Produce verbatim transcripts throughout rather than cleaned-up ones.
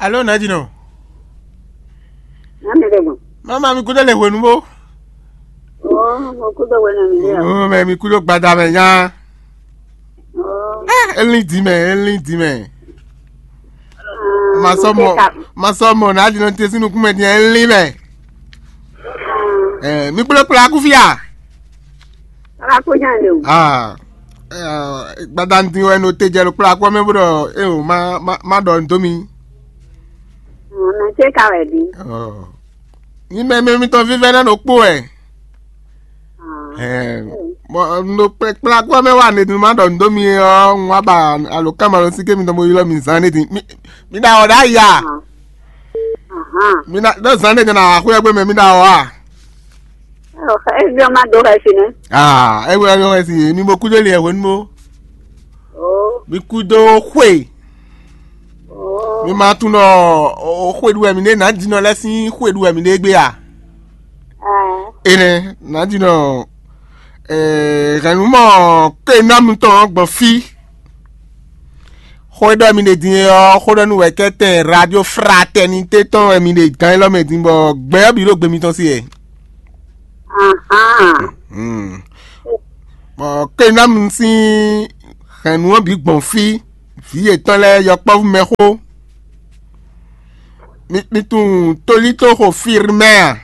Alo, Nadinɔ. Nami ɖe gbɔn. Mama, mi kúdó le hwenu bó. Oh, mo kúdó hwenu mi ɖe. Oh, mɛ mi kúdó gbada mɛ nya. Oh. Eh, elin di mɛ, elin di mɛ. Ma sɔ mɔ, ma sɔ mɔ Nadinɔ te sínú kúmɛ din, elin mɛ. Eh, mi kplɔ́ kplɔ́ akúfia. Ala kó nya le o. Ah, eh, gbadanu din wɛ no te jɛ ɖo kplɔ́ akpɔ mɛ bó ɖɔ, eh, o, ma, ma, ma ɖɔ nǔ dó mi. Mɛ ce ka wɛ di. Oh. Ní mɛ mɛ mitɔn vívɛ́ ná ɖo kpó wɛ. Ah. Eh, bɔ no kplɔ́ akpɔ mɛ wa ne ma ɖɔ nǔ dó mi ɔ, un wá ba alo kama lɔ sí ké mitɔn bo ylɔ́ mi zan ne din. Mi, mi ɖa ɔ ɖa ya. Ah. Aha. Mi na ɖo zan ne din na xwé gbé mɛ mi ɖa ɔ a. Eviɔ ma do xɛsi nɛ. Ah, ewe ayo xɛsi, mi mo kudo le hwenu mo. Oh. Mi kudo xwe. Oh. Mi ma tunɔ o xwe ɖu wɛ mi ɖe na dinɔ lɛ sín xwe ɖu wɛ mi ɖe gbé a. Ah. Ene na dinɔ eh hɛnu mɔ ke na mi tɔn gbɔn fi. Xó e ɖɔ mi ɖe din é ɔ́, xó ɖɔ nú wɛ̌kɛ́tɛn Radio Fraternité tɔn wɛ mi ɖe gán élɔ́ mɛ din, bɔ gbɛ ɔ́ bǐ ɖo gbe mitɔn sí wɛ. Ahán. Hmm. Bɔ Kenamu sín hɛ̌nnu ɔ́ bǐ gbɔn fí, vǐ yětɔn lɛ́ɛ yɔkpɔ́vú mɛxó. Mi, mi tunwun tolítoxo Firmɛ a?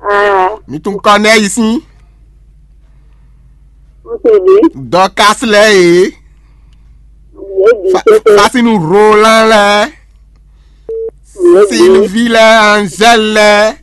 Ɛɛ, Mi tunwun Kɔnɛyi sín? N se ɖi. Dɔkasi lɛ́ɛ e. Yě ɖi Fa- tete. Fasinu Rolan lɛ́ɛ. Yě ɖi. Sylvie lɛ́ɛ, Angèle lɛ́ɛ.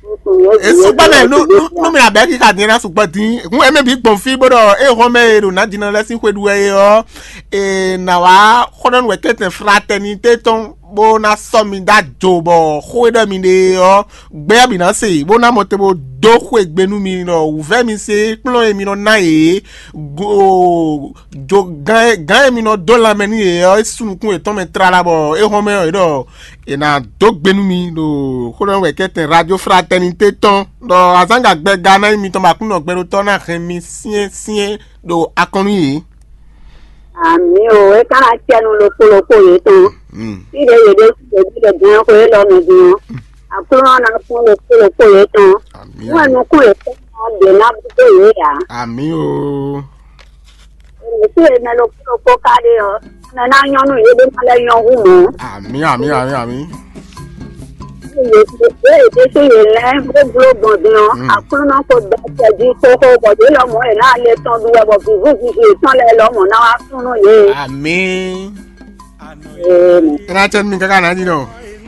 N se yě ɖi. Esugbɔ mɛ nu nu nu mi abɛ kika din na sugbɔ din. Hun ɛmɛ bi gbɔn fi bó ɖɔ e hɔn mɛ e ɖo na din na lɛ sin xwe ɖu wɛ e ɔ. E na wa xɔnɔ nu wɛ kɛtɛ fraternité tɔn bó na sɔ mi da jo bɔ xwe ɖɔ mi ɖe ɔ. Gbɛ bǐ ná se bó ná mɔ te bó dó xwe gbe nú mi ɖɔ wǔvɛ́ mi se kplɔ́n e mi nɔ ná yě go jo gán e gán e mi nɔ dó lanmɛ nú yě ɔ́, é sú nukún yětɔn mɛ tlala bɔ é hɔn mɛ ɔ́, é ɖɔ è nǎ dó gbe nú mi ɖo xó ɖɔ wɛ kɛ́tɛn Radio Fraternité tɔn ɖɔ azǎngagbe ga ná nyí mitɔn bɔ Aklúnɔ gbɛɖotɔ́ ná hɛn mi syɛ́nsyɛ́n ɖo akɔn nú yě. Amǐ o, é ka ná cɛ nú ɖokpó ɖokpó yětɔn. Mm. Fí ɖě yě ɖe yě ɖe gǎn xwe élɔ́ mɛ din ɔ́, Aklúnɔ ná kpɔ́n ɖokpó ɖokpó yětɔn. Amǐ. Nú wɛ nukún yětɔn ná ɖě ná bú dó yě ǎ. Amǐ o. Mǐ sí e mɛ ɖokpó ɖokpó ka ɖe ɔ́, mɛ ná nyɔ́ nú yě ɖé ná lɛ́ nyɔ́ hú mɔ̌. Amǐ, amǐ, amǐ, amǐ. Yě yě ɖésú yě lɛ́ bó bló gbɔn din ɔ́, Mm. Aklúnɔ ko dó acɛ jí xóxó bɔ yě lɔmɔ̌ yě ná lɛ́ tɔn ɖu wɛ bɔ vǐvú vivi yětɔn lɛ́ɛ lɔmɔ̌ ná wá kún nú yě. Amǐ. Ee, Ena cɛ mi kaka na di nɔ.